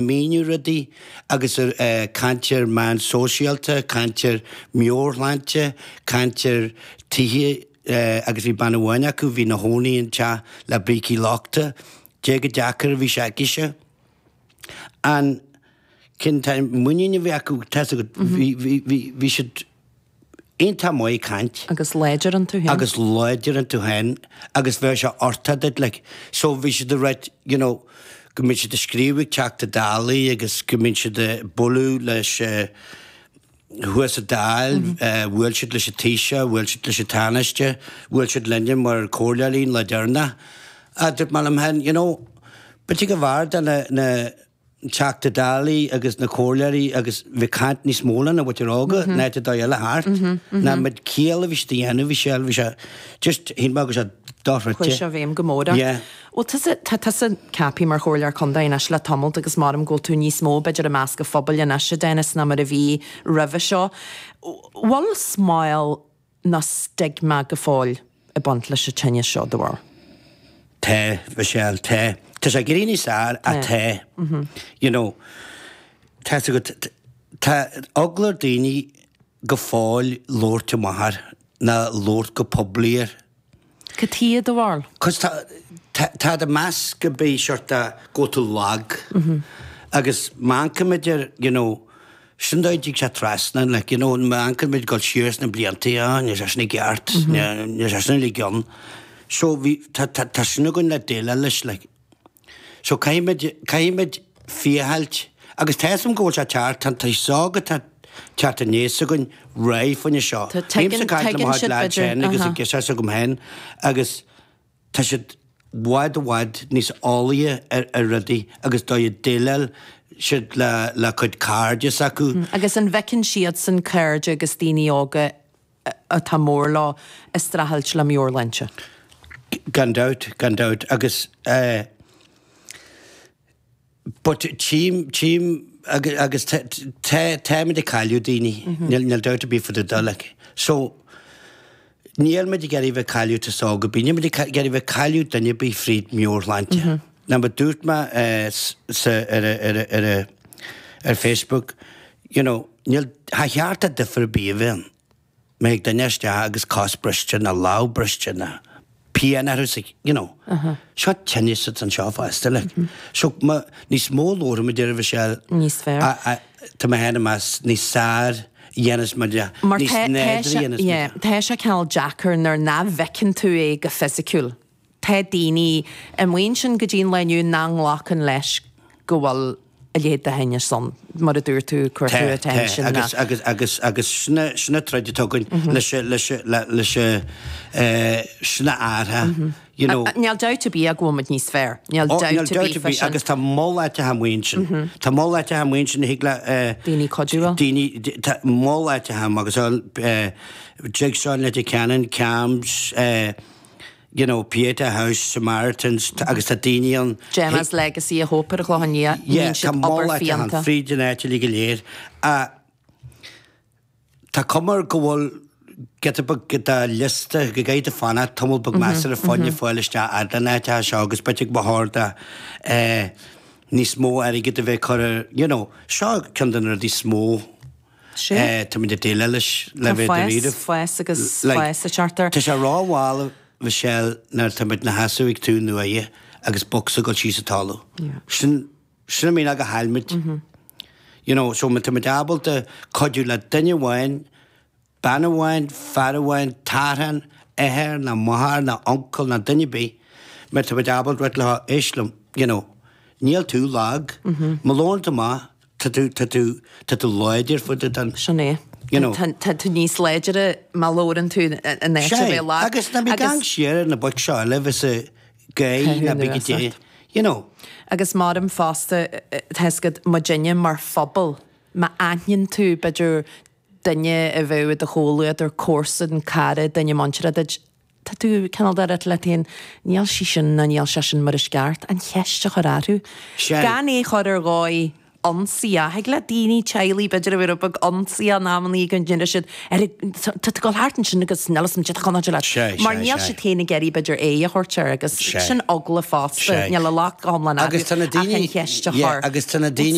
míniú rudaí agus ag caint ar meán sóisialta, caint ar meabhairshláinte, caint ar tithe agus bhí bean amháin acu, bhí ina chónaí in teach le brící lochta, dé chomh deacair a bhí sé aicise. An cineál muinín a bhí acu, tá 'fhios agat, bhí, bhí, bhí, bhí siad iontach maith ag caint. Agus láidir iontu féin. Agus láidir iontu féin agus bheadh sé orthu duit like. So bhí siad ag ráit you know go mbíonn siad ag scríobh ag Teachta Dálaí agus go mbíonn siad ag bualadh leis thuas sa Dáil, bhuail siad leis an Taoiseach, bhuail siad leis an Tánaiste, bhuail siad linne mar comhairleoirí an lá deireanach. Ah dúirt mé liom féin you know b'fhéidir go mb'fhearr do na na Teachta Dálaí agus na comhairleoirí agus bheith ag caint níos mó lena mhuintir óga ná áit ar dóigh eile thart. Ná muid ciall a bhí siad a dhéanamh, bhí sé, bhí sé just, shíl mé go raibh sé dochreidte. Chuaigh sé i bhfeidhm go mór ort. Yeah. Bhuel tusa, tá tusa ceaptha mar chomhairleoir contae anois le tamalt agus maram go bhfuil tú níos mó b'fhéidir i measc an phobail anois a Dennis ná mar a bhí roimhe seo. Bhfuil smál nó stigma go fóill ag baint leis an tinneas seo, do bharúil? Tá, Michelle, tá. Tá sé ag éirí níos fearr ach tá. You know, tá 'fhios agat, tá eagla ar daoine go fóill labhairt amach air ná labhairt go poiblí air. Cad chuige, do bharúil? Cos tá, tá, tá ag meas go mbeidh seort a, go bhfuil tú lag. Agus má amharcaimid ar, you know, sin dóigh a dtig sé trasna, like, you know, má amharcaimid dul siar sna blianta, ah, níl sé sin i gceart, níl sé sin uilig ann. So bhí, tá, tá, tá sin againn le déileáil leis, like. So caithfimid, caithfimid féacháilt, agus tá 'fhios a'm go bhfuil sé teacht, tá an t-aos óg atá teacht aníos againn réidh fá choinne seo. Tá, tuigeann, Bímse ag caint le mo tuigeann chuid siad lads b'fhéidir, féin agus aha. ag fhios agam féin agus tá siad i bhfad i bhfad níos eolaíche ar, ar rudaí agus dóigh a déileáil siad le, le cuid cairde s'acu. Agus an bhfeiceann siadsan cairde agus daoine óga atá mór leo ag streachailt le meabhairshláinte. Gan dabht, gan dabht. Agus eh but tchím, tchím agus, agus tá, tá, táimid ag cailleadh daoine, níl, níl dabht ar bith fá dtaobh de like. So, níl muid ag iarraidh bheith ag cailleadh aos óg ar bith, níl muid ag iarraidh bheith ag cailleadh duine ar bith fríd meabhairshláinte. Now mar dúirt mé eh sa, ar a, ar a, ar a, ar Facebook, you know, níl, cha cheart do difear ar bith a bheith ann. Má thig duine isteach agus cos briste nó lámh briste nó pian orthu sa, you know. Seo tinneas atá anseo fosta, like. So má, níos mó a labhraímid air Michelle. Níos fearr. Tá mé féin ag meas níos fearr a dhéanas muid é, Mar níos tá, tá nádúrtha sé, a dhéanas muid yeah, é. tá sé cineál deacair nuair nach bhfeiceann tú é go fisiciúil. Tá daoine amuigh ansin go dtí an lá inniu nach nglacann leis go bhfuil a leithéid de thinneas ann, mar a dúirt tú, cuir tú Tá, tá, attention agus, agus, agus, agus sin a, sin a troid atá againn leis a, leis a, le, leis a, eh, sin a athrá, you know. Níl dabht ar bith ach go bhfuil muid níos fearr. Níl Ó, dabht níl ar dabht bith ar fá bith sin. agus tá moll áiteacha amuigh ansin. Tá moll áiteacha amuigh ansin a thig le, eh, Daoine cuidiú leo. daoine, tá moll áiteacha agus, eh, Jigsaw in Leitir Ceanainn, CAMHS, eh, you know, Pieta House, Samaritans, agus tá daoine ann. Gemma's Legacy a Hope ar an Chlochán Liath, Yeah, níonn tá siad moll obair áiteacha ann fiúntach. fríd an áit uilig go léir. Ach tá cuma air go bhfuil giota beag de liosta go gcaithfidh tú fanacht tamall beag measartha fá choinne fáil isteach fhad le na háiteacha seo agus b'fhéidir go mba chóir do eh, níos mó airgid a bheith curtha, you know, seo ceann de na rudaí is mó Sea. Táimid ag déileáil leis le Tá bheith fás, dáiríre. fás agus Like, fás ag teacht air. Tá sé rómhall, Michelle, nuair atá muid 'na sheasamh ag túr na uaighe agus bocsa ag dul síos an talamh. Yeah. Sin, sin an mianach a chaill muid. You know, so má tá muid ábalta cuidiú le duine amháin, Bean amháin, fear amháin, tarthan, athair ná máthair ná uncail ná duine ar bith, má tá muid ábalta rá leo, éist liom, you know, níl tú lag, má labhrann tú amach, tá tú, tá tú, tá tú láidir fá dtaobh den, Sin é. you know. Tá, tá tú níos láidre má labhrann tú in áit a Sea, bheith lag. agus ná bí ag amharc siar ar na boic seo eile a bheas ag gáire ná bí go dté, you know. Agus maram fosta, tá 'fhios agat, muidinne mar phobal, má aithníonn tú, b'fhéidir, duine a bheadh i do chomhluadar, comharsan, cara, duine muinteartha duit, tá tú cineál de rá leat féin, níl sí sin nó níl sé sin mar is ceart, an cheist a chur orthu. Sea. Gan é chur ar dhóigh. Ionsaíoch. Thig le daoine, teaghlaigh b'fhéidir a bheith rud beag ionsaíoch in amannaí go ndéanann siad ar tá tú ag dul thart ansin agus níl fhios a'm cad atá chun leat. Mar níl siad féin ag iarraidh b'fhéidir aghaidh a thabhairt air agus sin eagla fosta. Níl an locht go hiomlán Agus tá na ach daoine an cheist a chur. Agus tá na daoine.